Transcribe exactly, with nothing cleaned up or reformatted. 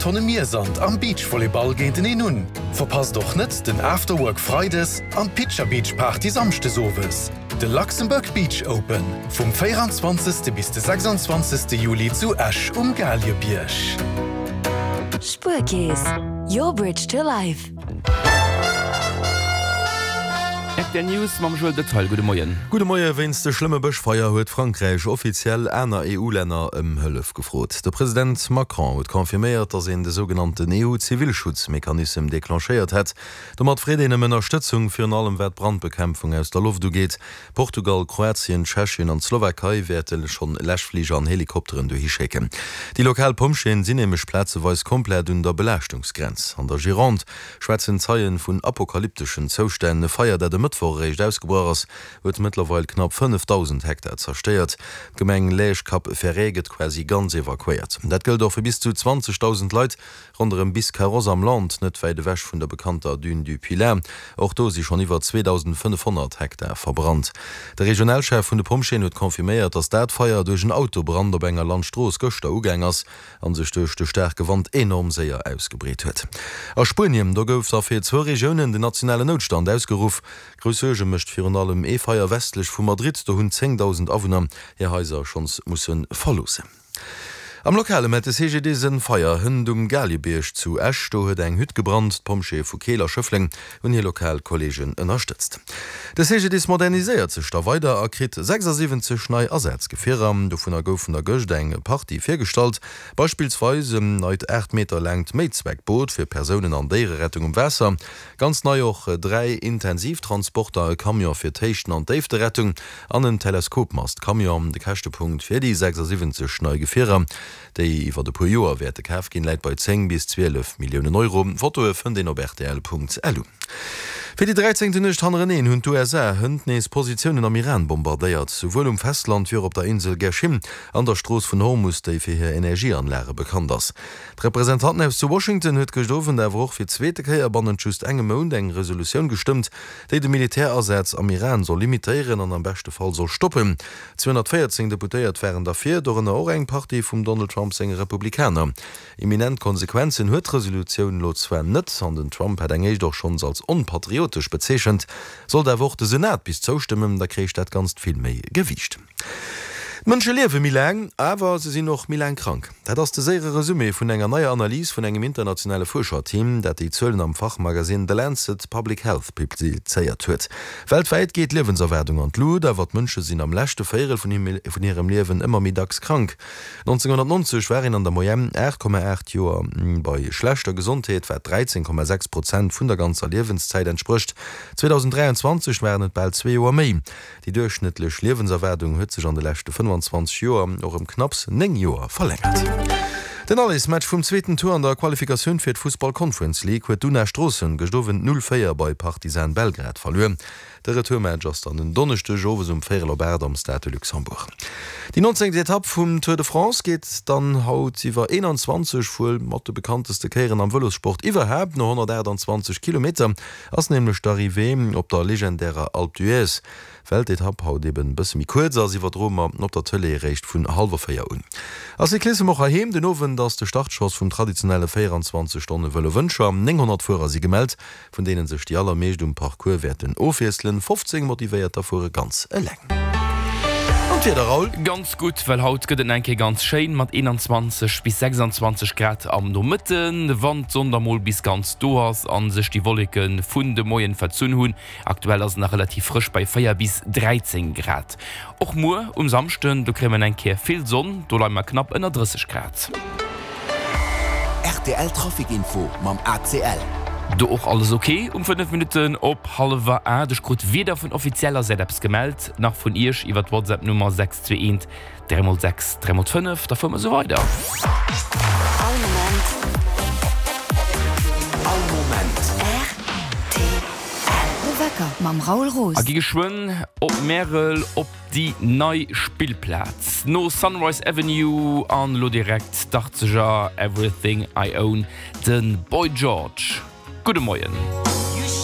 Tonne Miersand am Beachvolleyball géinteneen un. Verpasst och net den Afterwork Freides an d'Picture Beach Party Samschdes owes. De Luxembourg Beach Open vum véieranzwanzegste bis de sechsanzwanzegste Juli zu Esch um Galiebierg. Spuerkeess, your bridge to life. Rtl News mam Joël Detail, Gudde Moien. Gudde Moie, Wéinst de schlëmme Bëschfeier huet Frankräich offiziell aner E U-Länner ëm Hëllef gefrot. De President Macron huet confirméiert, datt een de sougenannten E U-Zivilschutzmechanissem declenchéiert hätt. Domat freet een ëm Ënnerstëtzung, virun allem wat d'Brandbekämpfung aus der Loft ugeet. Portugal, Kroatien, Tschechien an d'Slowakei wäerte schonn Läschfliger an Helikopteren dohi schécken. Déi lokal Pompjeeën sinn nämlech plazeweis komplett un der Belaaschtungsgrenz. An der Gironde schwätzen Zeien vun apokalypteschen Zoustänn. E Feier, dat e Mëttwoch eréischt ausgebrach ass, huet mëttlerweil knapp fënnefdausend Hektar zerstéiert. D'Gemeng Lège-Cap-Ferret gëtt quasi ganz evakuéiert. Dat gëllt och fir bis zu zwanzegdausend Leit ronderëm Biscarrosse am Land, net wäit ewech vun der bekannter Dune du Pilat. Och do si schonn iwwer zweedausendfënnefhonnert Hektar verbrannt. De Regionalchef vun de Pompjeeën huet confirméiert, datt dat Feier duerch en Autobrand op enger Landstrooss gëschter ugaang ass a sech duerch de staarke Wand enorm séier ausgebreet huet. A Spuenien, do gouf da fir zwou Regiounen den nationalen Noutstand ausgeruff. Grouss Suerge mécht virun allem ee Feier westlech vu Madrid, do hunn zéngdausend Awunner hir Haiser schonns musse verloossen. Am Lokale mellt de C G D I S en Feier hënt um Galiebierg zu Esch. Do huet eng Hütt gebrannt. D'Pompjeeë vu Keel a Schëffleng hunn hir lokal Kolleegen ënnerstëtzt. De C G D I S moderniséiert sech da weider a kritt sechsasiwwenzeg nei Asazgefierer. Dovunner goufen der gëscht eng Partie virgestallt. Beispillsweis en neit aacht Meter laangt Méizweckboot fir Persounen an Déiererettung um Waasser. Ganz nei och dräi Intensivtransporter, e Camion fir d'Héichten an d'Déifterettung an en Teleskopmast-Camion. De Käschtepunkt fir déi sechsasiwwenzeg nei Gefierer, déi iwwer e puer Joer wäerte kaf ginn, läit bei zéng bis zwielef Milliounen Euro. Fotoe fënnt een op rtl Punkt L U. Fir déi dräizéngten Nuecht hannereneen hunn d'U S A hënt nees Positiounen am Iran bombardéiert, souwuel um Festland wéi och op der Insel Qeshm an der Strooss vun Hormus, déi fir hir Energieanlage bekannt ass. D'Representantenhaus zu Washington huet gëscht Owend awer och fir d'zweete Kéier bannent just engem Mount eng Resolutioun gestëmmt, déi de Militärasaz am Iran soll limitéieren an am beschte Fall soll stoppen. Zweehonnertvéierzéng Deputéiert waren derfir, dorënner och eng Partie vum Donald Trump senge Republikaner. Imminent Konsequenzen huet d'Resolutioun elo zwar net, an den Trump hat eng éischt och schonns als onpatriotesch bezeechent. Sollt awer och de Senat bis zoustëmmen, da kréich dat Ganzt vill méi Gewiicht. D'Mënsche liewe méi laang, awer se sinn och méi laang krank. Dat ass de séiere Resumé vun enger neier Analys vun engem internationale Fuerscherteam, dat déi Zuelen am Fachmagasinn The Lancet Public Health publizéiert huet. Weltwäit geet d'Liewenserwaardung an d'Lut, awer d'Mënsche sinn am leschte Véierel vun hirem Liewen ëmmer méi dacks krank. nonzénghonnertnonzeg war een an der Moyenne aacht Komma aacht Joer bei schlechter Gesondheet, wat dräizéng Komma sechs Prozent vun der ganzer Liewenszäit entsprécht. zweedausenddräianzwanzeg waren et bal zwee Joer méi. Déi duerchschnëttlech Liewenserwaardung huet sech an de leschte fënnefanzwanzeg Joer och ëm knapps néng Joer verlängert. Den Allesmatch vum zweeten Tour an der Qualifikatioun fir d'Fussball Conference League huet d'Una Stroossen gëscht Owend null véier bei Partizan Belgrad verluer. De Retourmatch ass dann en Donneschdeg owes um véierel op aacht am Stade de Luxembourg. Déi nonzéngt Etapp vum Tour de France geet dann haut iwwer eenanzwanzeg wuel mat de bekannteste Kéieren am Vëlossport iwwerhaapt. No honnertaachtanzwanzeg Kilometer ass nämlech d'Arrivée op der legendärer Alpe d'Huez. Well d'Etapp haut eben e bësse méi kuerz ass, iwwerdroe mer op der Tëlee eréischt vun hallwer véier un. A Cyclissem och heiheem, Den Owend ass de Startschoss vum traditionelle véieranzwanzeg Stonne Vëlo Wëncher. nénghonnert Fuerer si gemellt, vun deene sech déi allermeescht um Parcours wäerten ofwiesselen. fofzéng Motivéierter fuere ganz eleng. An d'Wieder, Raoul? Ganz gutt, well haut gëtt et nach eng Kéier ganz schéin mat eenanzwanzeg bis sechsanzwanzeg Grad am Nomëtten, wann d'Sonn da mol bis ganz do ass a sech déi Wolleke vun de Moien verzunn hunn. Aktuell ass et nach relativ frësch bei véier bis dräizéng Grad. Och muer um Samschden, do kréie mer eng Kéier vill Sonn, do leie mer knapp ënner drësseg Grad. R T L Trafic Info mam A C L. Do och alles ok um fënnef Minutten op hallwer aacht. Ech krut weder vun offizieller Säit eppes gemellt, nach vun iech iwwer d'WhatsApp Nummer sechs zwee eent dräi mol sechs dräi mol fënnef. Da fuere mer esou weider. All Moment. All Moment. R T L. De Wecker mam Raoul Roos. A gi geschwënn op Märel op déi nei Spillplaz. No Sunrise Avenue an elo direkt d'Achtzeger Everything I Own, de Boy George. Gudde Moien.